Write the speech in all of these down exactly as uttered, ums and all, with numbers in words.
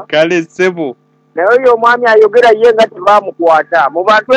Kale ssebo. Naye oyo omwami ayogera ye nga tebamukwata. Mu bantu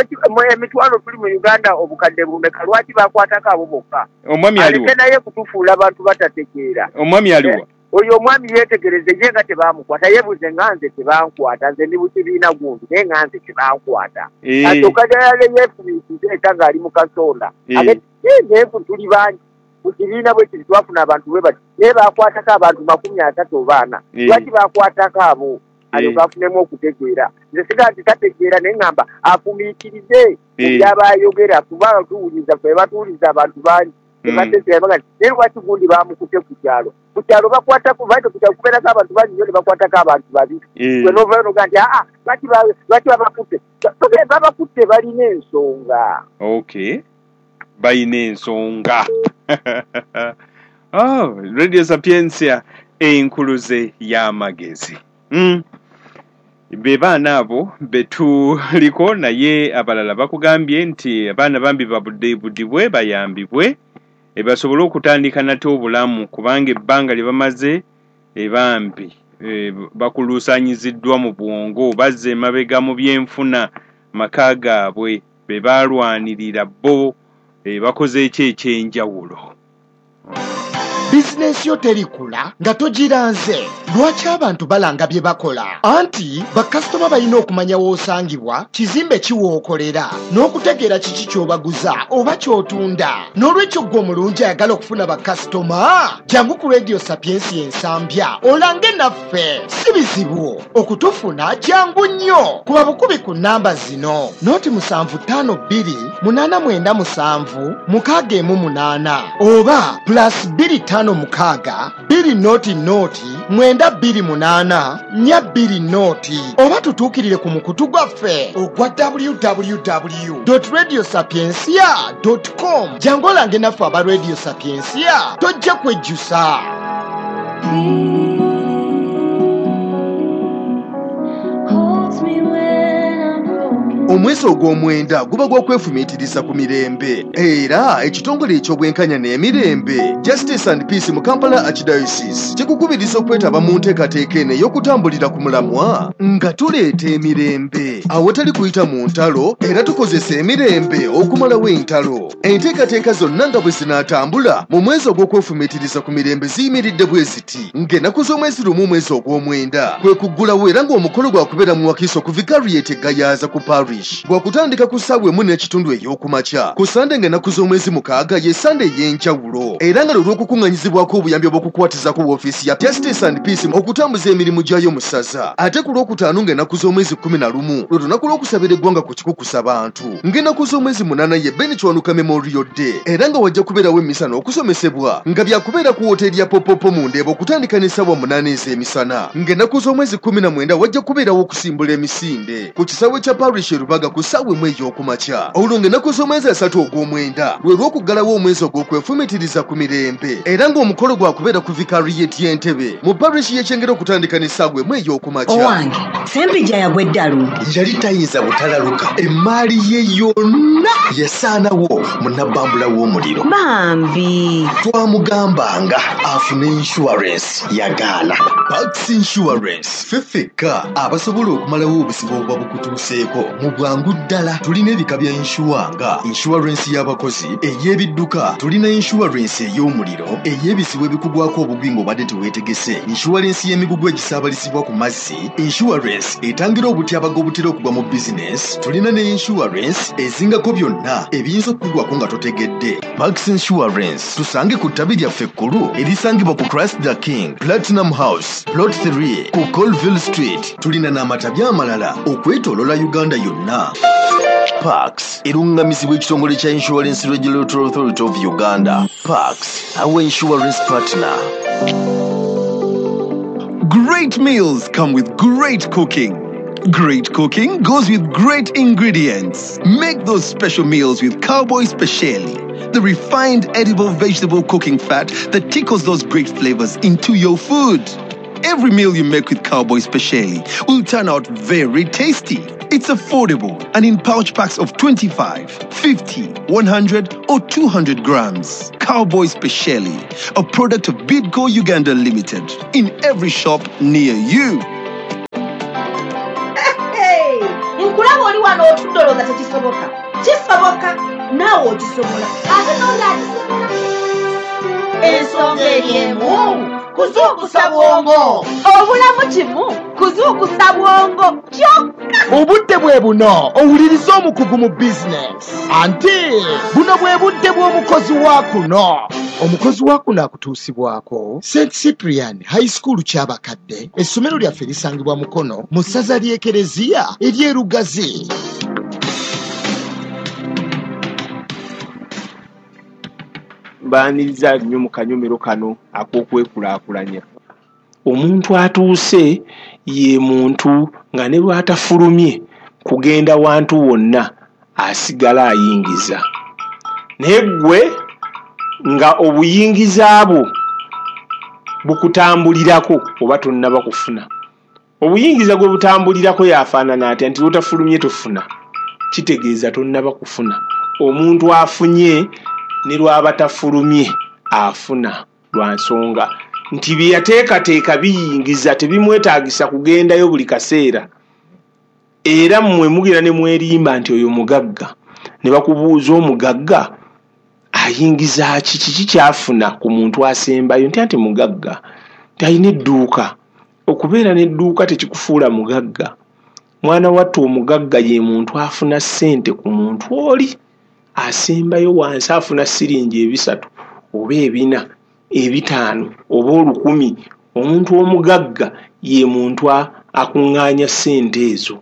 emitwalo tuli mu Uganda obukadde bumeka, lwaki bakwatako abo bokka? Omwami aliwa? Aleke naye kutufuula abantu batategeera. Omwami aliwa? Oyo omwami yeetegereze ye nga tebamukwata, yeebuze nga nze tebankwata, nze ndi bukibiina gundi naye nga nze tebankwata. Asooka ddala yeefumiitirize eta ng'ali mu kasonda. Ate naye tuli bangi mu kibiina bwe kiti twafuna abantu bwe bati naye bakwatako abantu makumi asatu oba ana. Lwaki bakwatako abo? Alyoke afunemu okutegeera. Nze siga nti tategeera naye ŋŋamba afumiitirize by'aba ayogera kubanga tuwuliriza ffe batuwuliriza abantu bangi. Tebategeera baga nti naye lwaki gundi bamukutte ku kyalo? Ku kyalo bakwatako lwaki ku kyalo kubeerako abantu bangi nnyo ne bakwatako abantu babiri. Gwe n'ovaayo n'ogaa nti aa lwaki lwaki babakutte? Babakutte balina ensonga. Okay. Balina ensonga. Oh, Radio Sapientia enkuluze y'amagezi. Mm. Be baana abo betuliko naye abalala bakugambye nti abaana bambi babudde bayambibwe basobole okutandika nate obulamu kubanga ebbanga lye bamaze ebambi e, bakuluusanyiziddwa mu bwongo, bazze emabega mu byenfuna maka gaabwe be baalwanirira bo e, bakoze eki ekyenjawulo. Bizinensi yo terikula nga togiranze. Lwaki abantu balanga bye bakola? Anti bakasitoma balina okumanya w'osangibwa, kizimbe ki w'okolera, n'okutegeera kiki ky'obaguza oba ky'otunda. N'olwekyo ggwe omulungi ayagala okufuna bakasitoma, jangu ku Radio Sapientia Ensambya olange naffe. Si bizibu okutufuna, jangu nnyo. Kuba bukubi ku nnamba zino: noti musanvu ttaano bbiri munaana mwenda musanvu mukaaga emu munaana oba plus bbiri ttaano mukaaga bbiri noti noti mwenda bbiri munaana nnya bbiri noti oba tutuukirire ku mukutu gwaffe ogwa w w w dot radio sapientia dot com. Jangu olange naffe aba Radio Sapientia, tojja kwejjusa. Omwezi ogw'omwenda guba gw'okwefumiitiriza ku mirembe era ekitongole eky'obwenkanya n'emirembe Justice and Peace mu Kampala Archdiocese kikukubiriza okwetaba mu nteekateeka eno ey'okutambulira ku mulamwa nga tuleeta emirembe awatali kuyita mu ntalo era tukozesa emirembe okumalawo entalo. Enteekateeka zonna nga bwe zinaatambula mu mwezi ogw'okwefumiitiriza ku mirembe ziyimiridde bwe ziti ng'ennaku z'omwezi lumu omwezi ogw'omwenda kwe kuggulawo era ng'omukolo gwakubeera mu Wakiso ku Vicariate Gayaza ku Parish gwakutandika ku ssaawa emu n'ekitundu ey'okumakya. Ku Sande ng'ennaku z'omwezi mukaaga ye Sande ey'enjawulo era nga lwe lw'okukuŋŋanyizibwako obuyambi obw'okukwatizako woofiisi ya Justice and Peace okutambuza emirimu gyayo mu ssaza. Ate ku lwokutaano ng'ennaku z'omwezi kkumi na lumu lwe lunaku lw'okusabira eggwanga ku kikukusa bantu. Ng'ennaku z'omwezi munaana ye Ben Kiwanuka Memorial Day era nga wajja kubeerawo emmisa n'okusomesebwa nga byakubeera ku wooteeri ya Popopo mu Ndeeba okutandika n'essaawa munaana ez'emisana. Ng'ennaku z'omwezi kkumi na mwenda wajja kubeerawo okusimbula emisinde ku kisaawe kya Parish Rubaga ku ssaawa emu ey'okumakya. Olwo ng'ennaku z'omwezi asatu ogw'omwenda lwe lw'okuggalawo omwezi ogw'okwefumiitiriza ku mirembe era ng'omukolo gwakubeera ku Vicariate y'Entebe mu parish y'Ekyengera okutandika n'essaawa emu ey'okumakya. Owange, Ssempijja yagwa eddalu. Yali tayinza butalaluka, emmaali ye yonna yasaanawo mu nabbambula w'omuliro. Bambi twamugambanga afune insurance yagaana. Pax Insurance ffe ffekka abasobola okumalawo obuzibu obuba bukutuuseeko mu bwangu ddala. Tulina ebika bya inshuwa nga insurance y'abakozi, ey'ebidduka, tulina insurance ey'omuliro, ey'ebizibu ebikugwako obugwi ng'obadde teweetegese, insurance y'emigugu egisaabalizibwa ku mazzi, insurance etangira obutyabaga obutera okugwa mu bizinesi, tulina ne insurance ezingako byonna ebiyinza okukugwako nga totegedde. Pax Insurance tusange ku ttabi lyaffe ekkulu erisangibwa ku Christ the King Platinum House Plot three ku Colville Street. Tulina n'amatabi amalala okwetooloola Uganda yonna. Pax erungamizibwa ekitongole kya Insurance Regulatory Authority of Uganda. Pax, our insurance partner. Great meals come with great cooking. Great cooking goes with great ingredients. Make those special meals with Cowboy Speciali, the refined edible vegetable cooking fat that tickles those great flavors into your food. Every meal you make with Cowboy Speciali will turn out very tasty. It's affordable and in pouch packs of twenty-five, fifty, one hundred or two hundred grams. Cowboy Speciali, a product of Bidco Uganda Limited, in every shop near you. wano otudde olowooza tekisoboka. Kisoboka, naawe okisobola, ate n'oli akisobola. Ensonga eri emu, kuzuukusa bwongo. Obulamu kimu, kuzuukusa bwongo kyokka. Obudde bwe buno owuliriza omukugu mu bizinesi. Anti buno bwe budde bw'omukozi wa kuno. Omukozi wa kuno akutuusibwako Saint Cyprian High School Kyabakadde. Essomero lyaffe lisangibwa Mukono mu ssaza ly'Ekereziya ery'e Lugazi. Mbaaniriza nnyo mu kanyomero kano ak'okwekulaakulanya. Omuntu atuuse ye muntu nga ne bw'atafulumye kugenda wantu wonna asigala ayingiza. Naye ggwe nga obuyingiza bwo bukutambulirako oba tonnaba kufuna. Obuyingiza gwe butambulirako yafaanana atya nti lw'otafulumye tofuna, kitegeeza tonnaba kufuna. Omuntu afunye ne lw'aba tafulumye afuna lwa nsonga nti bye yateekateeka biyingiza, tebimwetaagisa kugendayo buli kaseera. Era mmwe mugira ne mwerimba nti oyo mugagga, ne bakubuuza omugagga ayingiza ki, kiki ky'afuna ku muntu asembayo, nti anti mugagga, nti alina edduuka. Okubeera n'edduuka tekikufuula mugagga. Mwana wattu omugagga ye muntu afuna ssente ku muntu oli asembayo wansi, afuna siringi ebisatu oba ebina, ebitaano oba olukumi. Omuntu omugagga ye muntu akuŋŋaanya ssente ezo.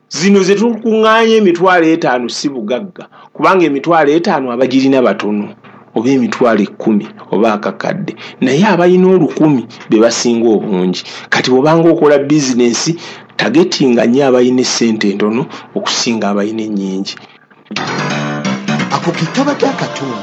Zino ze tukuŋŋaanya emitwalo etaano si bugagga, kubanga emitwalo etaano abagirina batono, oba emitwalo ekkumi oba akakadde, naye abalina olukumi be basinga obungi. Kati bw'obanga okola bizinensi, tagetinga nnyo abalina essente entono okusinga abalina ennyingi. Ako ke kabadde akatundu.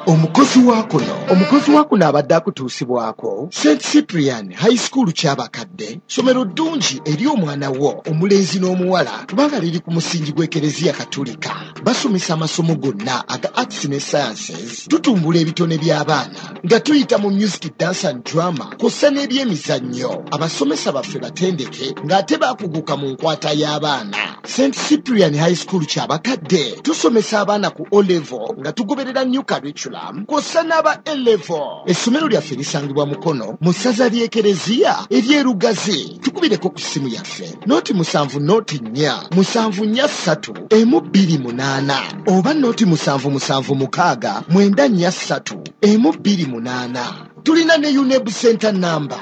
Omukozi wa kuno, omukozi wa kuno abadde akutuusibwako Saint Cyprian High School Kyabakadde, ssomero ddungi eri omwana wo omulenzi n'omuwala, kubanga liri ku musingi gw'Ekereziya Katolika. Basomesa amasomo gonna aga arts ne sciences, tutumbula ebitone by'abaana nga tuyita mu music, dance and drama kw'ossa n'ebyemizannyo. Abasomesa baffe batendeke ng'ate baakuguka mu nkwata y'abaana. Saint Cyprian High School Kyabakadde tusomesa abaana ku O level nga tugoberera new curriculum kw'ossa n'aba A level. Essomero lyaffe lisangibwa Mukono mu ssaza ly'Ekereziya ery'e Lugazi. Tukubireko ku ssimu yaffe noti musanvu noti nnya musanvu nnya ssatu emu bbiri munaana oba noti musanvu musanvu mukaaga mwenda nnya ssatu emu bbiri munaana. Tulina ne UNEB Center number.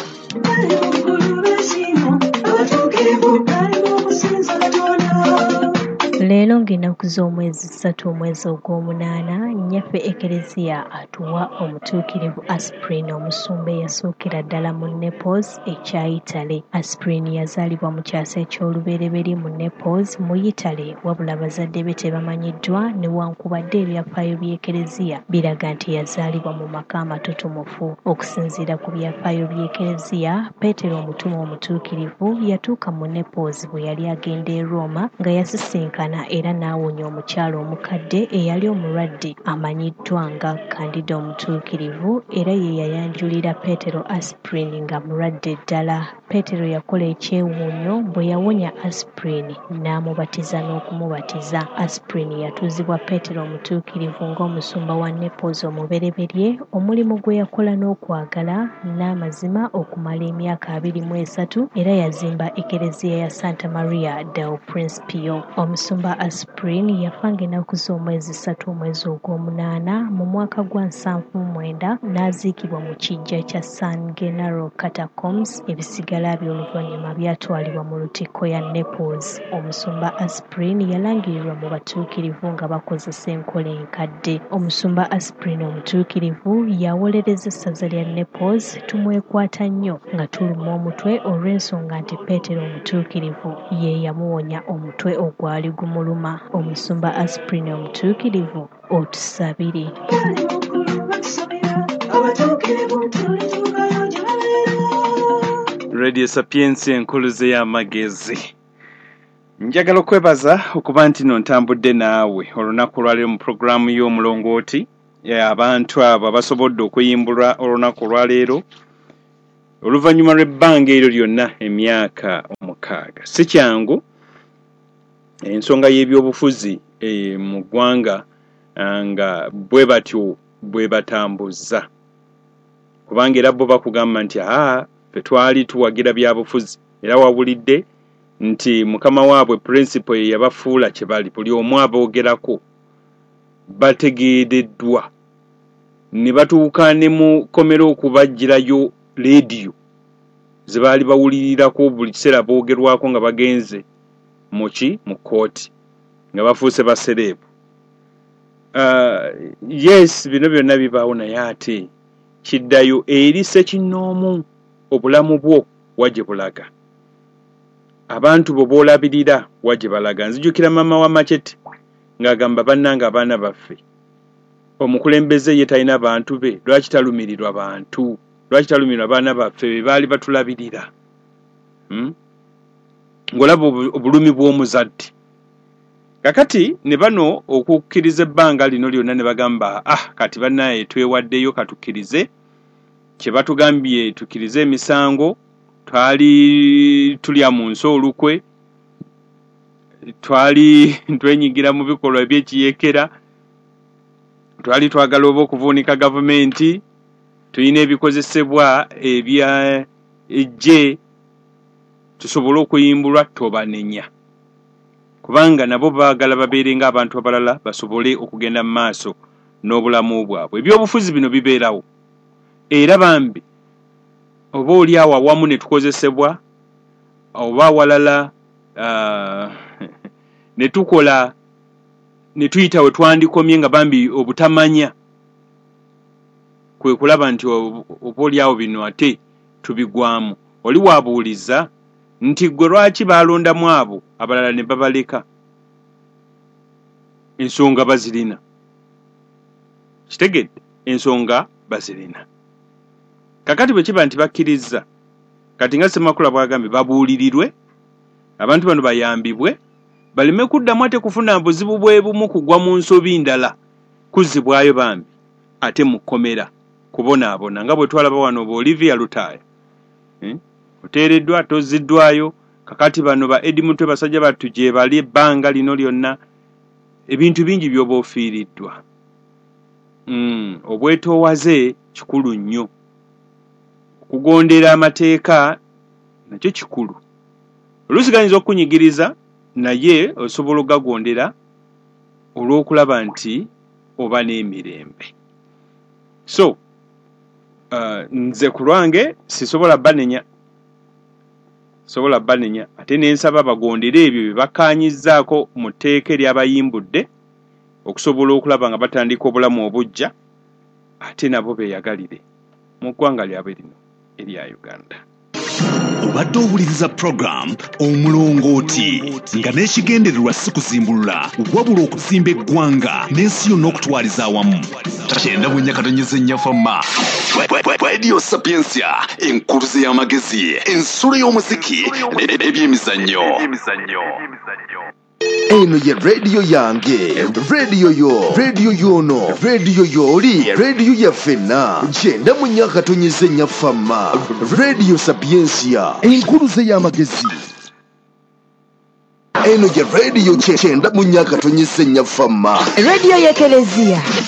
Leero ng'ennaku z'omwezi ssatu omwezi ogw'omunaana, nnyaffe Ekereziya atuwa omutuukirivu Aspirin, omusumba eyasookera ddala mu Naples ekya Italy. Aspirin yazaalibwa mu kyasa eky'olubereberye mu Naples mu Italy, wabula bazadde be tebamanyiddwa, newankubadde ebyafaayo by'Ekereziya biraga nti yazaalibwa mu maka amatutumufu. Okusinziira ku byafaayo by'Ekereziya, Peetero omutume omutuukirivu yatuuka mu Naples bwe yali agenda e Roma nga yasisinkana era n'awonya omukyala omukadde eyali omulwadde amanyiddwa nga Kandida omutuukirivu, era ye yayanjulira Peetero Aspirin nga mulwadde ddala. Peetero yakola ekyewuunyo bwe yawonya Aspirin n'amubatiza n'okumubatiza. Aspirin yatuuzibwa Peetero omutuukirivu ng'omusumba wa Naples omubereberye, omulimu gwe yakola n'okwagala n'amazima okumala emyaka abiri mu esatu, era yazimba Ekereziya ya Santa Maria del Principio. Omusumba Aspirin yafa ng'ennaku z'omwezi ssatu omwezi ogw'omunaana mu mwaka gwa nsanvu mu mwenda n'aziikibwa mu kiggya kya San Gennaro Catacombs. Ebisigala bye oluvannyuma byatwalibwa mu lutikko ya Naples. Omusumba Aspirin yalangirirwa mu batuukirivu nga bakozesa enkola enkadde. Omusumba Aspirin omutuukirivu yawolereza essaza lya Naples. Tumwekwata nnyo nga tuluma omutwe olw'ensonga nti Peetero omutuukirivu ye yamuwonya omutwe ogwali gumuluma. Omusumba Aspirin omutuukirivu, otusabire. Radio Sapientia enkuluze y'amagezi. Njagala okwebaza okuba nti nno ntambudde naawe olunaku olwaleero mu pulogulaamu y'omulongooti. Abantu abo abasobodde okuyimbulwa olunaku olwaleero oluvannyuma lw'ebbanga eryo lyonna emyaka omukaaga. Si kyangu, ensonga y'ebyobufuzi e, mu ggwanga nga bwe batyo bwe batambuza, kubanga era bo bakugamba nti aa ffe twali tuwagira byabufuzi. Era wawulidde nti mukama waabwe principal ye yabafuula kye bali, buli omu aboogerako bategeereddwa ne batuuka ne mu kkomera okubaggyirayo leediyo ze baali bawulirirako buli kiseera boogerwako nga bagenze muki mu kkooti nga bafuuse basereebu. Uh, yes, bino byonna bibaawo, naye ate kiddayo eri ssekinnoomu, obulamu bwo wa gye bulaga, abantu bo b'olabirira wa gye balaga. Nzijukira maama wa Machete ng'agamba, bannange abaana baffe, omukulembeze ye talina bantu be, lwaki talumirirwa bantu, lwaki talumirirwa baana baffe be baali batulabirira? hmm? Ng'olaba obulumi bw'omuzadde. Kakati ne bano okukkiriza ebbanga lino lyonna ne bagamba, ah kati bannaye twewaddeyo, katukkirize kye batugambye, tukkirize emisango, twali tulya mu nsi olukwe, twali twenyigira mu bikolwa eby'ekiyeekera, twali twagala oba okuvuunika gavumenti, tulina ebikozesebwa ebya eggye tusobole okuyimbulwa, tobanenya, kubanga nabo baagala babeere ng'abantu abalala basobole okugenda mu maaso n'obulamu bwabwe. Ebyobufuzi bino bibeerawo, era bambi oba oli awo awamu ne tukozesebwa, oba awalala uh, ne tukola ne tuyita we twandikomye, nga bambi obutamanya kwe kulaba nti oba oli awo bino ate tubigwamu. Oli waabuuliza nti gwe lwaki baalondamu abo abalala ne babaleka? Ensonga bazirina, kitegedde, ensonga bazirina. Kakati bwe kiba nti bakkiriza, kati nga Ssemakula bw'agambye, babuulirirwe abantu bano bayambibwe baleme kuddamu ate kufuna buzibu bwe bumu kugwa mu nsobi ndala kuzzibwayo bambi ate mu kkomera kubonaabona, nga bwe twalaba wano ba Olivia Lutaaya, hmm? Oteereddwa tozziddwayo. Kakati bano ba Eddie Mutwe basajja battu gye bali ebbanga lino lyonna, ebintu bingi by'oba ofiiriddwa. Mm, obwetoowaze kikulu nnyo, okugondera amateeka nakyo kikulu. Oluusi gayinza okukunyigiriza, naye osobola okugagondera olw'okulaba nti oba n'emirembe. So uh, nze ku lwange sisobola banenya, sobola banenya, ate nensaba bagondere ebyo bye bakkaanyizzaako mu tteeka eryabayimbudde okusobola okulaba nga batandika obulamu obuggya, ate nabo beeyagalire mu ggwanga lyabwe lino erya Uganda. Obadde owuliriza program Omulongooti, nga n'ekigendererwa si kuzimbulula wabula okuzimba eggwanga n'ensi yonna okutwaliza awamu. Kyenda mu nnya katonyeze nnya fama Radio Sapientia, enkuluze y'amagezi, ensulo y'omuziki n'ebyemizannyo. Eno ye radio yange, radio yo, radio yono, radio yoli, radio yaffenna. Kyenda mu nnya katonyeze nnya fama Radio Sapientia, enkuluze y'amagezi. Eno ye radio kyenda mu nnya katonyeze nnya fama Radio y'Ekelezia.